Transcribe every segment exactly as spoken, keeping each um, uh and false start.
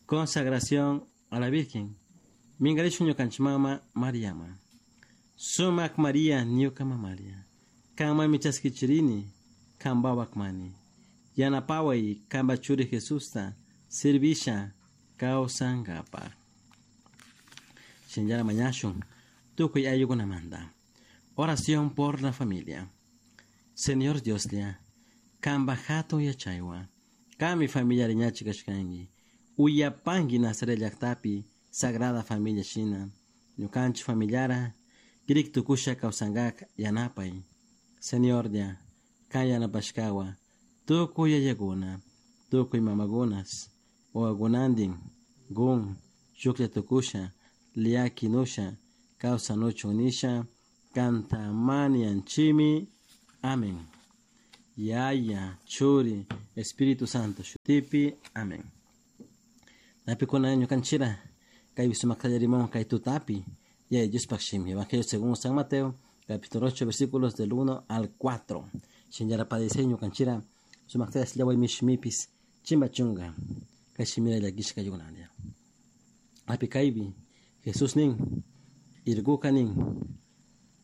Consagración a la Virgen. Mingarishun ñukanchik mama Mariama. Sumak María ñuka mamaria. Kanmanmi chaskichirini, kanpawakmani. Yanapaway kanpa churi Jesusta servisha kawsankapaj. Shinllana mañashun tukuy ayllukunamanta. Oración por la familia. Señor Dioslla, kanpa hatun yachaywan, kanmi familia riñachi kashkanki. Uyapanki Nazaret llaktapi Sagrada Familia shina. Ñukanchik familiara kirik tukusha kawsankak yanapay. Señorlla, kan yanapashkawa tukuy yayakuna, tukuy mamakunas, wawakunantin, gun, shuklla tukusha, llakinusha, kawsanuchun nisha, kanta manianchimi. Amén. Yaya, Churi, Espíritu Santo, shutipi. Amén. Napikuna ñukanchira, kay sumak rimon kay tutapi, yaya Diospaj shimi. Evangelio según San Mateo, capítulo ocho, versículos del uno al cuatro. Shinllara padece ñukanchira, sumak tallaway mishmipis, chimba chunga, kay shimira llakishka yugunandia. Api kaypi, Jesús nin, irguka nin,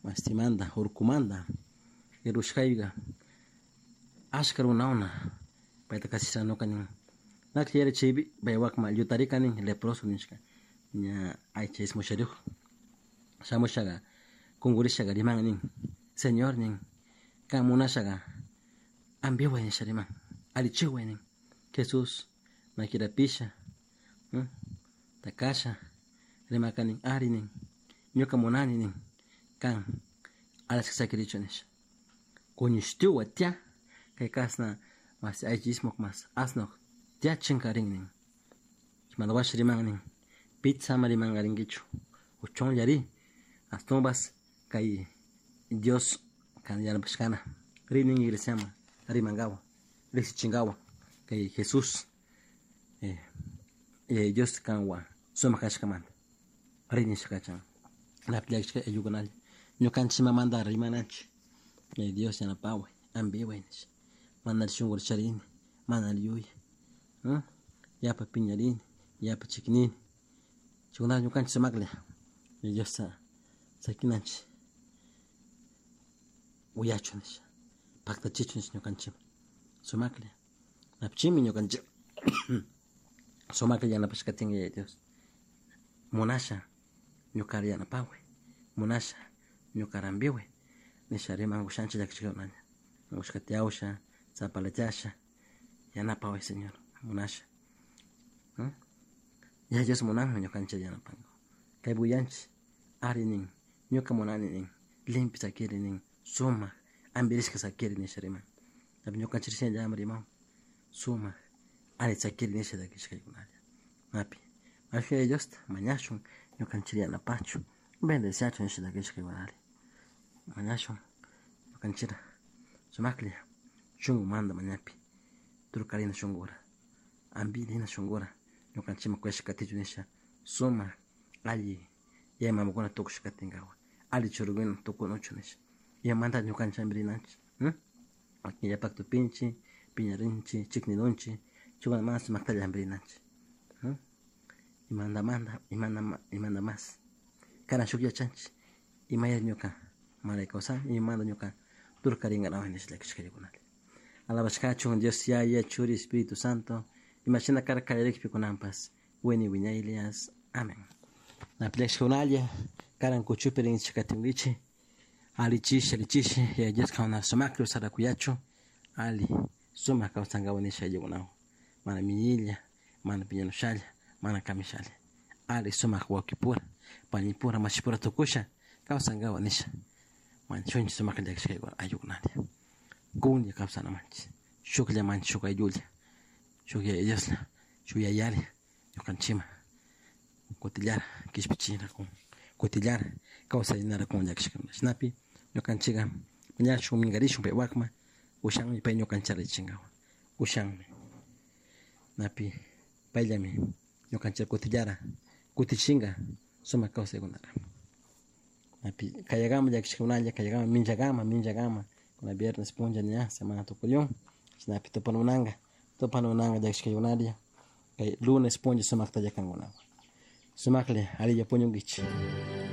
mastimanda, urkumanda, irushkayga, ashka runauna, payta kasishanuka nin. Naklla yara chaypi, paywakma llutarika nin, leproso nishka, ña aycha ismushariyuk. Shamushaga, kungurishaga riman nin, Señor nin, kan munashaga, ambiway nisha riman, allichiway nin. Jesús, makirapisha, hmm? Takasha, rimaka nin, ari nin, ñuka munani nin, kan alashka sakirichu nisha. Kuñushtiwa tia, kay kasna mas aycha ismuk mas asnuk tia chinkarin nin. Chaymanta washa riman nin, pizza ama rimankarinkichu, uchunlla ri, ashtawanpas kay Dios kan yanapashkana, ri nin iglesiaman rimankawa, riksichinkawa, kay Jesús, eh, eh, Dios kanwan sumak kashkamanta, ri nisha kachan. Napi llakishka ayllukunalla, ñukanchik imamanta rimananchik, eh, Dios yanapaway, ambiway nisha, mana shunkuta charini, mana yuyay, ¿Mm? Yapa piñarini, yapa chiknini, chaykunata ñukanchik sumaklla, Diosta sakinanchik, uyachun nisha, paktachichun nisha ñukanchik sumaklla, napichimi ñukanchik sumaklla yanapashkatin Yaya Dios, munasha ñukara yanapaway, munasha ñukara ambiway, nisha rimankushanchik llakishkakunalla, unkushka tiyawsha, zapalachasha, yanapaway Señor, munasha. ¿Mm? Yaya Dios munanmi ñukanchik yanapanka. Kaypi uyanchik, ari nin, ñuka munani nin, limpio sakiri nin, sumak, ambirishka sakiri nisha riman. Tapi ñukanchik shinallami riman, sumak, ari sakiri nisha llakishkaykunalla. Napi, mashi Yaya Diosta mañashun, ñukanchik yanapachun, bendeciachun nisha llakishkaykunalla. Mañashun, ñukanchikra sumaklla, shunkumanta mañapi, turkarina shunkura, ambirina shunkura, ñukanchikman kuyashka katichun nisha, sumak, alli yaya mamakuna tukushka katinkawa, alli churikuna tukunuchun nisha. Imamanta ñukanchik ambirinanchik, ¿Mm? Wakin yapak tupinchik, piñarinchik, chiknirunchik, chaykuna mana sumaktalla ambirinanchik. ¿Mm? Imandamanta, imanda, imanda mas, karan shuk yachanchik, imaya ñuka malay kawsani, imamanta ñuka turkarinkaraway nisha llakishkaykunalla. Alabashkachun Dios Yaya, Churi, Espíritu Santo, imashina karka kallarikpi kunanpas, wini wiñaylias. Amén. Napi llakishkakunalla, karan kuchupi rinchik katinkichik, allichishi, allichishi, Yaya Dios kawana sumaklla usarakuyachu, ali sumak kawsankawa nisha ayllukunawan, mana miñilla, mana piñanushalla, mana kamishalla, ali sumak wawkipura, panipura, mashipura tukusha kawsankawa nisha, manchunchik sumaklla llakishkaykuna ayllukunalla. Kunlla kawsanamanchik, shukllamanchik shuk ayllulla, shuk Yaya Dioslla, shuk yayalla, ñukanchikman kutillara kishpichinakun, kutillara kawsarinara kun llakishkakuna. Shinapi ñukanchikka mañashun minkarishun pay wakman, ushanmi pay ñukanchik allichinkawa, ushanmi. Napi payllami ñukanchik kutillara kutichinka sumak kawsaykunara. Napi kayakama llakishkakunalla, kayakama minchakama, minchakama, kuna viernes punlla ña semana tukuyun, shinapi tupamunanka. Tupanunanga llakishkaykunaria kay lunes punlla sumakta llakankunawan. Sumaklla alilla puñunkichik.